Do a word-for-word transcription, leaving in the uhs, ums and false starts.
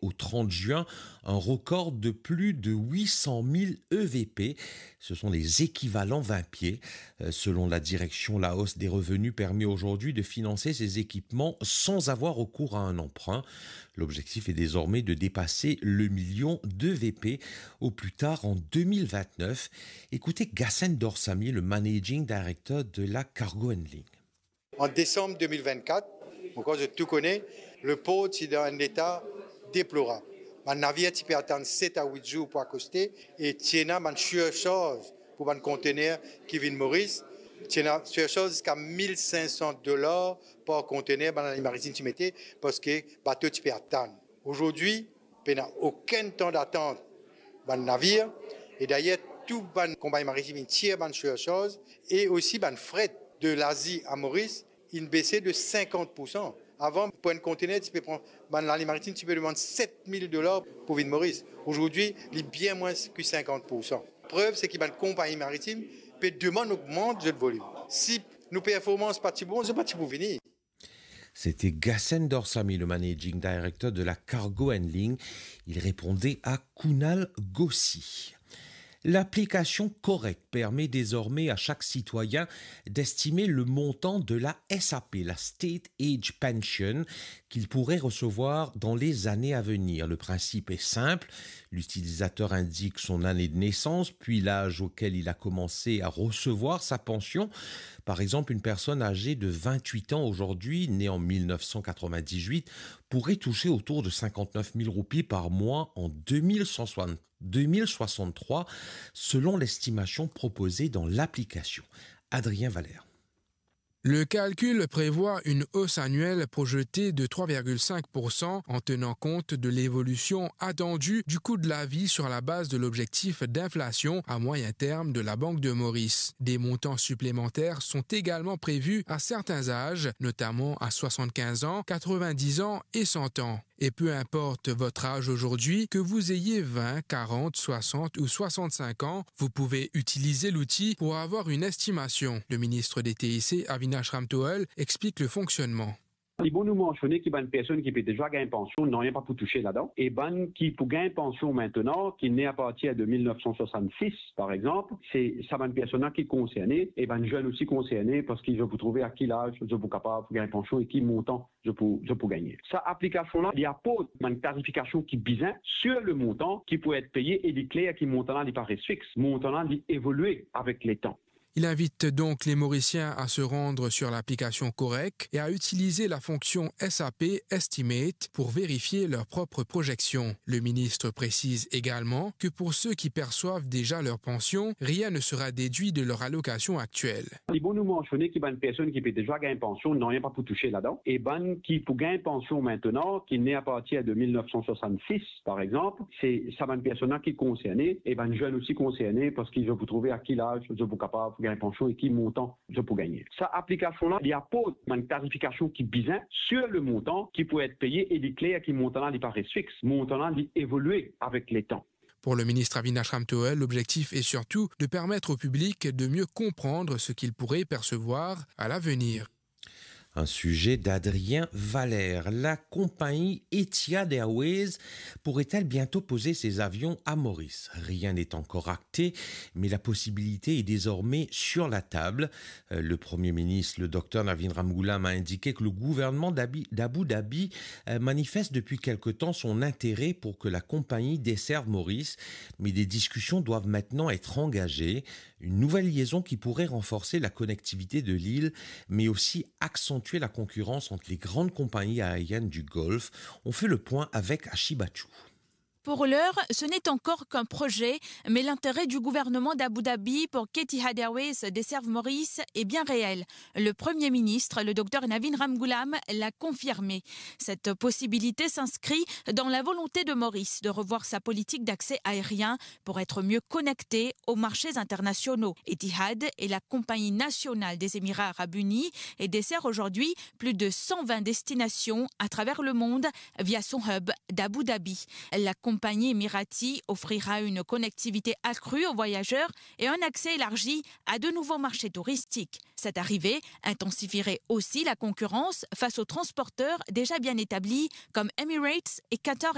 au trente juin un record de plus de huit cent mille E V P. Ce sont les équivalents vingt pieds. Euh, selon la direction, la hausse des revenus permet aujourd'hui de financer ces équipements sans avoir recours à un emprunt. L'objectif est désormais de dépasser le million d'E V P au plus tard en deux mille vingt-neuf. Écoutez Gassen Dorsami, le managing director de la Cargo Handling. An desam de mil vennkat, ankor zot tou kone, lepor ti dan enn leta deplorab. Bann navir ti pe atann set a wit zour pou akoste e ti ena bann surcharge pou bann kontener ki vinn Moris. Ti ena surcharge ziska mil sink san dolar par kontener bann laline maritim ti mete, parski bato ti pe atann. Azordi, pena okenn tan datant bann navir, e dayer tou bann konpagni maritim inn tir bann surcharge e osi bann fret de Lazi a Moris inn bese de sinkant poursan. Avan, pou enn kontener, ti pe pran, bann laline maritim ti pe demann set mil dolar pou vinn Moris. Azordi, li bien mwins ki sinkant poursan. Prev, se ki bann konpagni maritim pe demann ogmant zot volim. Si nou performans pa ti bon, zot pa ti pou vini. C'était Gassen Dorsami, le managing director de la Cargo Handling. Il répondait à Kunal Gossi. L'application Correc permet désormais à chaque citoyen d'estimer le montant de la S A P, la State Age Pension, qu'il pourrait recevoir dans les années à venir. Le principe est simple. L'utilisateur indique son année de naissance, puis l'âge auquel il a commencé à recevoir sa pension. Par exemple, une personne âgée de vingt-huit ans aujourd'hui, née en mille neuf cent quatre-vingt-dix-huit, pourrait toucher autour de cinquante-neuf mille roupies par mois en deux mille soixante, deux mille soixante-trois, selon l'estimation proposée dans l'application. Adrien Valère. Le calcul prévoit une hausse annuelle projetée de trois virgule cinq pour cent en tenant compte de l'évolution attendue du coût de la vie sur la base de l'objectif d'inflation à moyen terme de la Banque de Maurice. Des montants supplémentaires sont également prévus à certains âges, notamment à soixante-quinze ans, quatre-vingt-dix ans et cent ans. Et peu importe votre âge aujourd'hui, que vous ayez vingt, quarante, soixante ou soixante-cinq ans, vous pouvez utiliser l'outil pour avoir une estimation. Le ministre des T I C, Avinash Ramtohul, explique le fonctionnement. Li bon nou mansione ki bann personn ki pe deza gagn pansion, nanye pa pou touse ladan. E bann ki pou gagn pansion aster, ki ne apartir de mil nef san swasann-sis, par exanp, se sa bann personn la ki konserne, e bann zenn osi konserne, parski zot pou trouve a ki laz zot pou kapav gagn pansion e ki montan zot pou, zot pou gagne. Sa aplikasion la, li aport bann klarifikasion ki bizin sur le montan ki pou et peye e li kler ki montan la, li pa res fix. Montan la, li evolwe avek letan. Il invite donc les Mauriciens à se rendre sur l'application Correc et à utiliser la fonction S A P Estimate pour vérifier leur propre projection. Le ministre précise également que pour ceux qui perçoivent déjà leur pension, rien ne sera déduit de leur allocation actuelle. Li bon nou mansione ki bann personn ki pe deza gagn pansion, nanye pa pou touse ladan. E bann ki pou gagn pansion aster, ki ne apartir de mil nef san swasann-sis, par exanp, se sa bann personn la ki konserne, e bann zenn osi konserne, parski zot pou trouve a ki laz zot pou kapav gagn pansion e ki montan zot pou gagne. Sa aplikasion la, li aport bann klarifikasion ki bizin sur le montan ki pou et peye e li kler ki montan la, li pa res fix. Montan la, li evolwe avek letan. Pour le ministre Avinash Ramtohul, l'objectif est surtout de permettre au public de mieux comprendre ce qu'il pourrait percevoir à l'avenir. Un sujet d'Adrien Valère. La compagnie Etihad Airways pourrait-elle bientôt poser ses avions à Maurice ? Rien n'est encore acté, mais la possibilité est désormais sur la table. Euh, le Premier ministre, le docteur Navin Ramgoolam, a indiqué que le gouvernement d'Abi-, d'Abu Dhabi, euh, manifeste depuis quelque temps son intérêt pour que la compagnie desserve Maurice, mais des discussions doivent maintenant être engagées. Une nouvelle liaison qui pourrait renforcer la connectivité de l'île, mais aussi accentuer la concurrence entre les grandes compagnies aériennes du Golfe. On fait le point avec Ashi Bachou. Pour l'heure, ce n'est encore qu'un projet, mais l'intérêt du gouvernement d'Abu Dhabi pour qu'Etihad Airways desserve Maurice est bien réel. Le Premier ministre, le docteur Navin Ramgoolam, l'a confirmé. Cette possibilité s'inscrit dans la volonté de Maurice de revoir sa politique d'accès aérien pour être mieux connecté aux marchés internationaux. Etihad est la compagnie nationale des Émirats arabes unis et dessert aujourd'hui plus de cent vingt destinations à travers le monde via son hub d'Abu Dhabi. La compagnie émirati offrira une connectivité accrue aux voyageurs et un accès élargi à de nouveaux marchés touristiques. Cette arrivée intensifierait aussi la concurrence face aux transporteurs déjà bien établis comme Emirates et Qatar Airways.